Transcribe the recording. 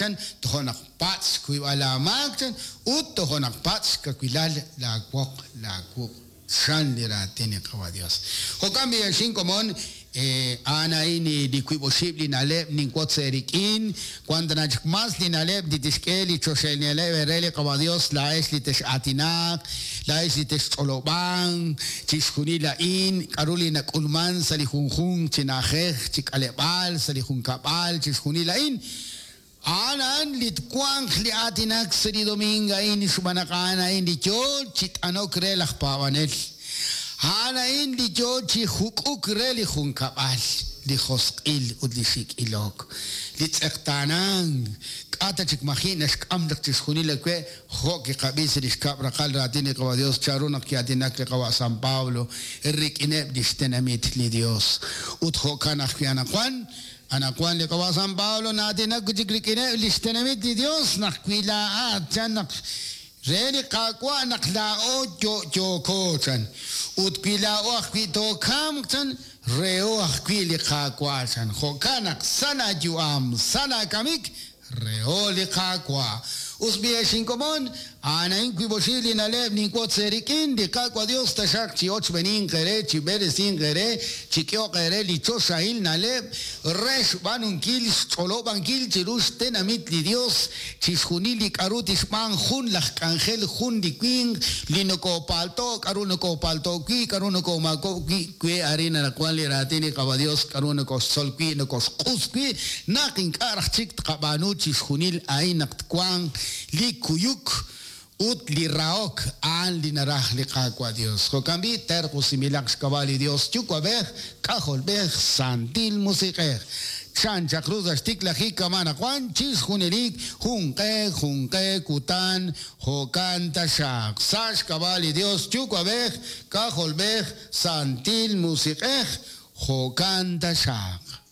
chan, toja' naq patz' xkuyb'al aamaak chan, ut toja' naq patz' xkawilal laawoq laawuq' chan li raatin li Qaawa' Dios. Jo'kan b'i' ex inkomon, a'an a'in li wiib' oxib' li na'leb' ninwotz eerik'in, wan tana chik mas li na'leb' li tixk'e li choxahil na'leb' eere li Qaawa' Dios, laa'ex li tex'aatinaq, laa'ex li texch'olob'anq, chixjunil a'in, k'a'ru li nak'ulman sa' li junjunq chi na'ajej, chi k'aleb'aal, sa' li junkab'al, chixjunil a'in. A'an a'an li twanq li aatinak sa' li domingo a'in xb'aan naq a'an a'in li yoo chi t'anok re laj paab'anel. A'an a'in li yoo chi juk'uk re li junkab'al, li josq'il ut li xik' ilok, li tz'eqtaanank. K'a' ta chik maji' naxk'am chaq chixjunil awe' jo' kiqab'i sa' li xkab' raqal raatin li Qawa' Dios chanru naq ki'aatinak li Qawa' San Pablo rik'ineb' lix tenamit li Dios. Ut jo'kan ajwi' anaqwan, Anaqwan li Qawa' San Pablo na'aatinak wi' chik rik'ineb' li xtenamit li Yos naq wi laa'at, chan, naq re li Qaawa' naq laa'o yo'yooko, chan, ut wi laa'o ajwi' tookamq, chan, reho ajwi' li Qaawa', chan. Jo'kan naq sa' laayu'am, sa' laakamik, reho li Qaawa'. Us b'i' ex inkomon, a'an a'in wiib' oxib' li na'leb' ninwotz eerik'in, li Qaawa' Dios taxaq chi'ochb'eeninq eere, chib'eresinq eere, chik'ehoq eere li choxahil na'leb' re xb'aanunkil xch'olob'ankil chiru xtenamit li Dios chixjunil li k'a'ru tixb'aan jun laj k'anjel, jun li winq li nokopaalto', k'a'ru nokopaalto' wi', k'a'ru nokomaakob'k wi', we arin anaqwan li raatin li Qaawa' Dios k'a'ru nokoxtzol wi', nokoxq'us wi', naq ink'a' raj chik tqab'aanu chixjunil a'in naq twanq li kuyuk ut li rahok, a'an li naraj li Qaawa' Dios. Jo'kan b'i', terq'usinb'ilaq xk'ab'a' li Dios Yuwa'b'ej, K'ajolb'ej, Santil Musiq'ej. Chan chaq ru sa' xtiklajik kama' anaqwan, chixjunelik, junq'e junq'e kutan, jo'kan taxaq. Sa' xk'ab'a' li Dios Yuwa'b'ej, K'ajolb'ej, Santil Musiq'ej, jo'kan taxaq.